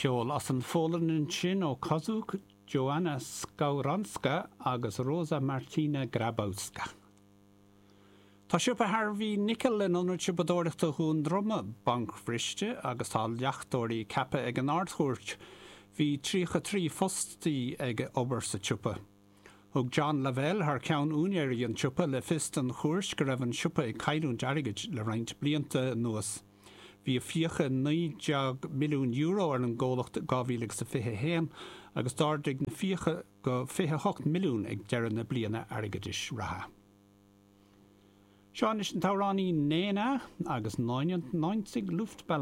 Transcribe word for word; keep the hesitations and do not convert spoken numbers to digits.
Ceol as an Pholainn ansin ó Kozuk, Joanna Skowronska agus Rosa Martina Grabowska. Tá siopa Harvey Nichols in ionad siopadóireachta Dhún Droma bancbhriste agus tá leachtóirí ceaptha ag an Ardchúirt. Bhí tríocha trí fostaí ag obair sa tsiopa. Thug John Lavelle thar ceann úinéirí an tsiopa le fios don chúirt go raibh an siopa ag cailliúint airgid le roinnt blianta anuas. Bhí fiacha naoi déag milliún euro ar an gcomhlacht dhá mhíle agus a fiche haon agus d'ardaigh na fiacha go fiche hocht milliún ag deireadh na bliana airgeadais reatha. Seo anois an t-amhránaí Nena agus neunundneunzig Luftballons.